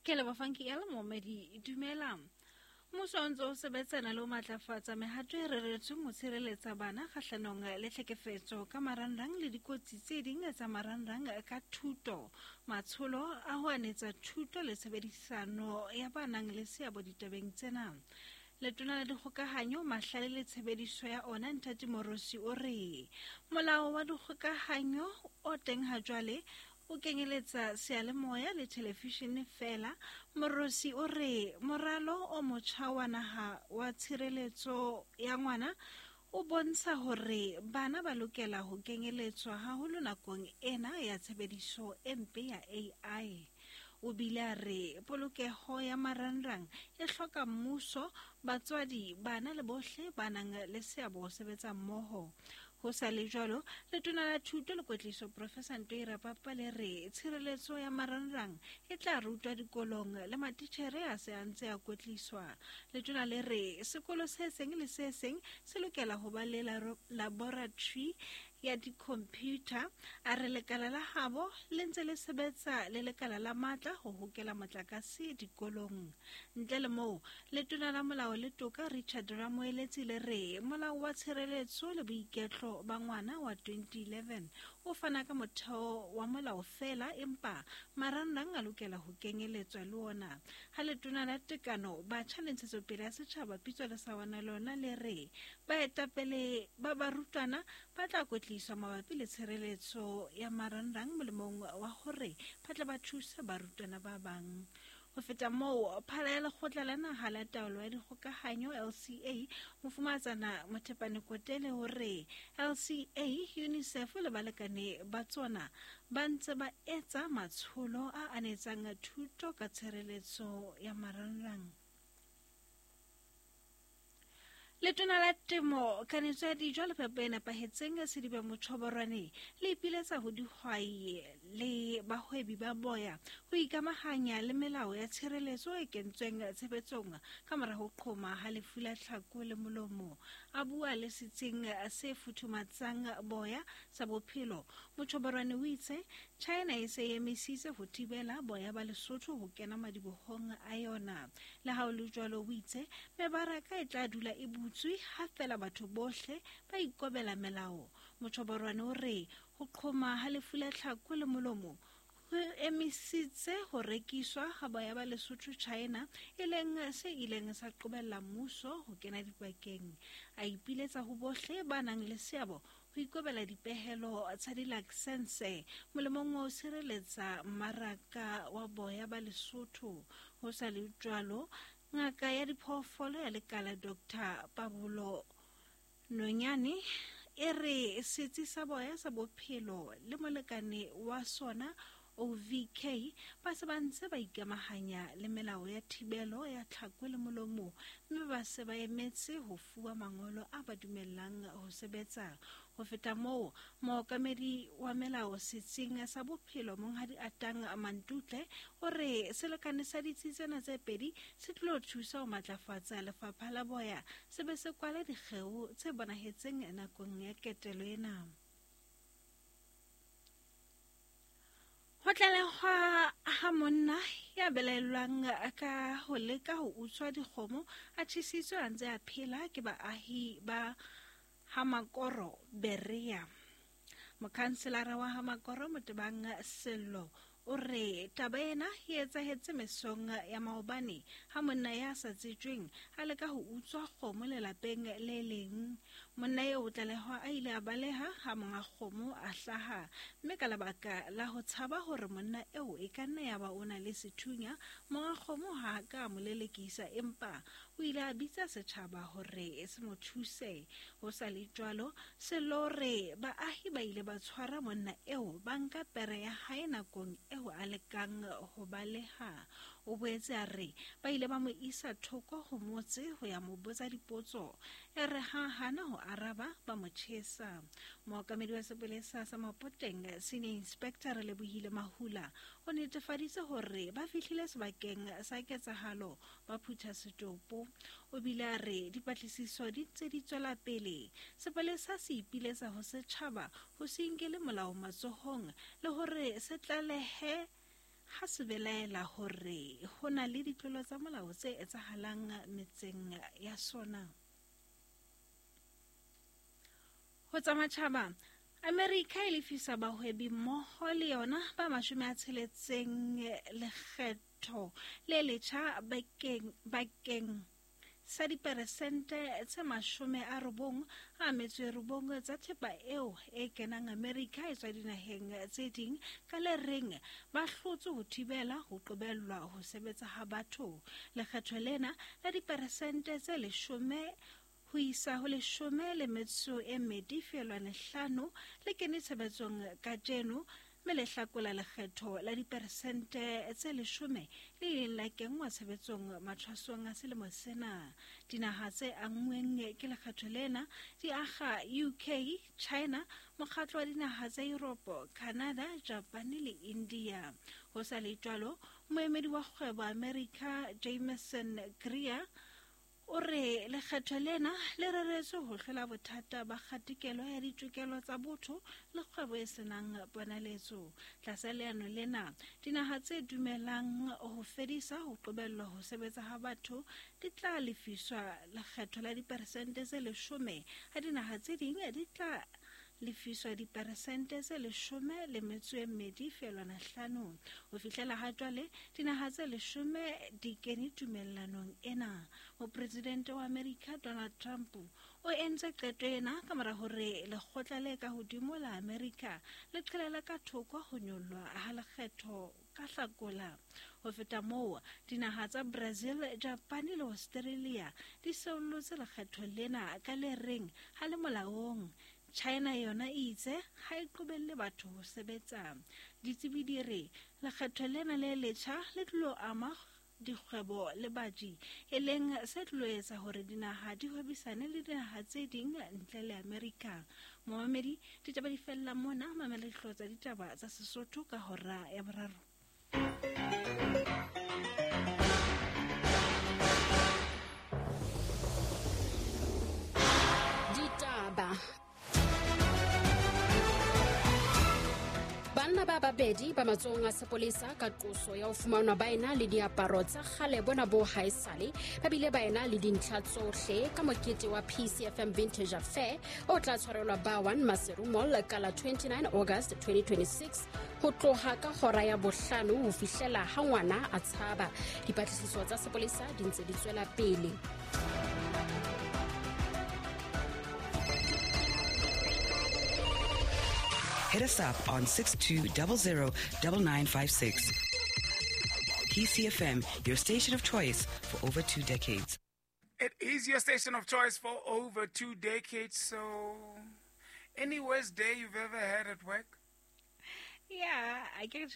Ke leboha Funky L momedi dumela. Mmuso o ntse o sebetsana le ho matlafatsa mehato e reretsweng ho tshireletsa bana kgahlanong le tlhekefetso ka marangrang le dikotsi tse ding tsa marangrang ka thuto, matsholo a ho anetsa thuto le tshebedisano ya ba nang le seabo ditabeng tsena. Letona la Dikgokahanyo, Mahlale le Tshebediso ya ona Nthati Morosi o re molao wa dikgokahanyo o teng ha jwale o kenyeletsa seyalemoya le thelefishene feela. Morosi o re moralo o motjha wa naha wa tshireletso ya ngwana o bontsha hore bana ba lokela ho kenyeletswa haholo nakong ena ya tshebediso e mpe ya AI. O bile a re polokeho ya marangrang e hloka mmuso, batswadi, bana le bohle ba nang le seabo ho sebetsa mmoho. Ho sa le jwalo, Letona la Thuto le Kwetliso Professor Ntoi Rapapa le re tshireletso ya marangrang e tla rutwa dikolong le matitjhere a se a ntse a kwetliswa. Letona le re sekolo se seng le se seng se lokela ho ba le laboratory ya di-computer. A re lekala la habo le ntse le sebetsa le lekala la matla ho hokela motlakase dikolong. Ntle le moo, Letona la Molao le Toka Richard Ramoeletsi le re Molao wa Tshireletso le Boiketlo ba Ngwana wa 2011 o fana ka motheo wa molao feela empa marangrang a lokela ho kenyeletswa le ona. Ha Letona la Tekano, Batjha le Ntshetsopele ya Setjhaba Pitso Lesawana lona le re baetapele ba barutwana ba tla kwetliswa mabapi le tshireletso ya marangrang molemong wa hore ba tle ba thuse barutwana ba bang. Ho feta moo, phala ya Lekgotla la Naha la Taolo ya Dikgokahanyo, LCA, Mofumahatsana Mothepane Kotele o re LCA, UNICEF le balekane ba tsona ba ntse ba etsa matsholo a anetsang thuto ka tshireletso ya marangrang. Letona la Temo, Kanetso ya Dijo le Phepo e Nepahetseng Sedibe Mochoborwane le ipiletsa ho dihwai le bahwebi ba boya ho ikamahanya le melao ya tshireletso e kentsweng tshebetsong ka mora ho qhoma ha lefu la tlhako le molomo. A bua le setsing se futhumatsang boya sa bophelo, Mochoborwane o itse China e se e emisitse ho thibela boya ba Lesotho ho kena madibohong a yona. Le ha ho le jwalo, o itse mebaraka e tla dula e butswe ha feela batho bohle ba ikobela melao. Mochoborwane o re ho qhoma ha lefu la tlhako le molomo ho emisitse ho rekiswa ha boya ba Lesotho China, e leng se ileng sa qobella mmuso ho kena dipakeng. A ipiletsa ho bohle ba nang le seabo ho ikobela dipehelo tsa dilaksense molemong wa ho sireletsa mmaraka wa boya ba Lesotho. Ho sa le jwalo, ngaka ya diphoofolo ya lekala Dr. Pabolo Nonyane e re setsi sa boya sa bophelo le molekane wa sona OVK ba se ba ntse ba ikamahanya le melao ya thibelo ya tlhako le molomo mme ba se ba emetse ho fuwa mangolo a ba dumellang ho sebetsa. Ho feta moo, mookamedi wa melao setsing sa bophelo Monghadi Atang Mantutle o re selekane sa ditsi tsena tse pedi se tlilo thusa ho matlafatsa lefapha la boya se be se kwale dikgeo tse bonahetseng nakong ya ketelo ena. Ho tlalehwa ha monna ya belaellwang ka ho leka ho utswa dikgomo a tjhesitswe a ntse a phela ke baahi ba Hamakoro Berea. Mokhanselara wa Hamakoro Motebang Sello o re taba ena e etsahetse mesong ya maobane ha monna ya sa tsejweng a leka ho utswa kgomo lelapeng le leng. Monna eo o tlalehwa a ile a baleha ha monga kgomo a hlaha, mme ka lebaka la ho tshaba hore monna eo e ka nna ya ba o na le sethunya, monga kgomo ha a ka a mo lelekisa empa o ile a bitsa setjhaba hore se mo thuse. Ho sa le jwalo, Sello o re baahi ba ile ba tshwara monna eo ba nka pere ya hae nakong eo a lekang ho baleha. O boetse a re ba ile ba mo isa thoko ho motse ho ya mo botsa dipotso. Ere ha a hana ho araba, ba mo tjhesa. Mookamedi wa sepolesa sa Mapoteng, Senior Inspector Relebohile Mahula, o netefaditse hore ba fihlile sebakeng sa ketsahalo ba phutha setopo. O bile a re dipatlisiso di ntse di tswela pele. Sepolesa se ipiletsa ho setjhaba ho se inkele molao matsohong le hore se tlalehe ha se belaela hore ho na le ditlolo tsa molao tse etsahalang metseng ya sona. Ho tsa matjhaba, Amerika e lefisa bahwebi mmoho le yona ba 60 lekgetho le letjha bakeng sa diperesente tse 99 tsa thepa eo e kenang Amerika e tswa dinaheng tse ding ka le reng ba hlotse ho thibela ho qobellwa ho sebetsa ha batho. Lekgetho lena la diperesente tse 10 ho isa ho 12.5 le kene tshebetsong kajeno, mme le hlakola lekgetho la diperesente tse 10 le ileng la kenngwa tshebetsong mathwasong a selemo sena. Dinaha tse anngweng ke lekgetho lena di akga UK, China, mokgatlo wa dinaha tsa Europe, Canada, Japan le India. Ho sa le jwalo, moemedi wa kgwebo America Jameson Greer o re lekgetho lena le reretswe ho hlola bothata ba kgatikelo ya ditokelo tsa botho le kgwebo e senang ponaletso. Tlasa leano lena, dinaha tse dumelang ho fedisa ho qobellwa ho sebetsa ha batho di tla lefiswa lekgetho la diperesente tse 10, ha dinaha tse ding di tla lefiswa diperesente tse 12.5. Ho fihlela ha jwale, dinaha tse 10 di kene tumellanong ena. Mopresidente wa Amerika Donald Trump o entse qeto ena ka mora hore lekgotla le ka hodimo la Amerika le qhelele ka thoko ho nyollwa ha lekgetho ka hlakola. Ho feta moo, dinaha tsa Brazil, Japan le Australia di seollotse lekgetho lena ka le reng ha le molaong. China yona e itse ha e qobelle batho ho sebetsa. Ditsebi di re lekgetho lena le letjha le tlilo ama dikgwebo le baji, e leng se tlilo etsa hore dinaha di hwebisane le dinaha tse ding ntle le Amerika. Momamedi, ditaba di fella mona. Mamela dihlooho tsa ditaba tsa Sesotho ka hora ya 3. Ditaba. Banna ba babedi ba matsohong a sepolesa ka qoso ya ho fumanwa ba ena le diaparo tsa kgale bona bo haesale, ba bile ba ena le dintlha tsohle ka mokete wa PCFM Vintage Affair o tla tshwarelwa ba 1 Maseru Mall ka la 29 August 2026 ho tloha ka hora ya 5 ho fihlela ha ngwana a tshaba. Dipatlisiso tsa sepolesa di ntse di tswela pele. Hit us up on 6200 9956. PCFM, your station of choice for over 2 decades. It is your station of choice for over 2 decades. So, any worst day you've ever had at work? Yeah, I can't.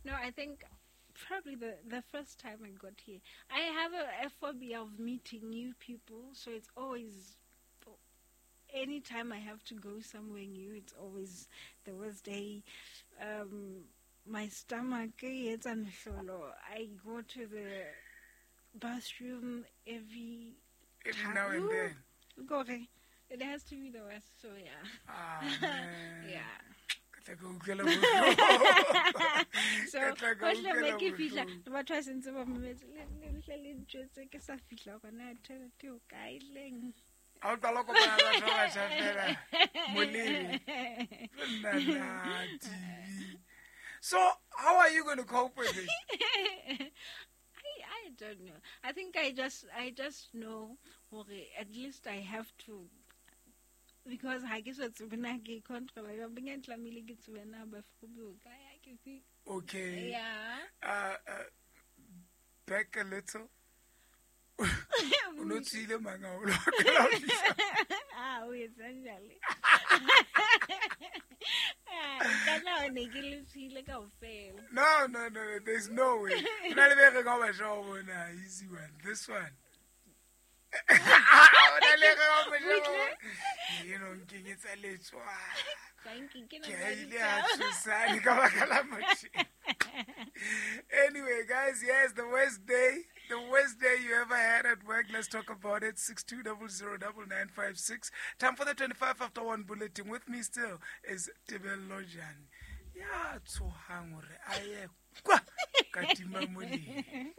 No, I think probably the first time I got here. I have a phobia of meeting new people, so it's always, anytime I have to go somewhere new, it's always the worst day. My stomach, I go to the bathroom every now and then. Okay. It has to be the worst, so yeah. Ah, man. Yeah. So, hohle ke fihla, batho ba sentse ba mametse, le le ntjwetse ke sa fihla gona thebe o kae leng. A o qala kopana le batho ba batjha fela, molemi. Nna TV. So, how are you going to cope with it? I don't know. I think I just know, okay, at least I have to, because I guess it's been a control. I've been Okay. Yeah. Back a little. Ah, essentially. No, there's no way. Easy one. This one. Anyway, guys, yes, the worst day you ever had at work. Let's talk about it. 62009956. Time for the 1:25 bulletin. With me still is Tebello Jane. Ya tshohang hore a ye kwa Katima Molilo.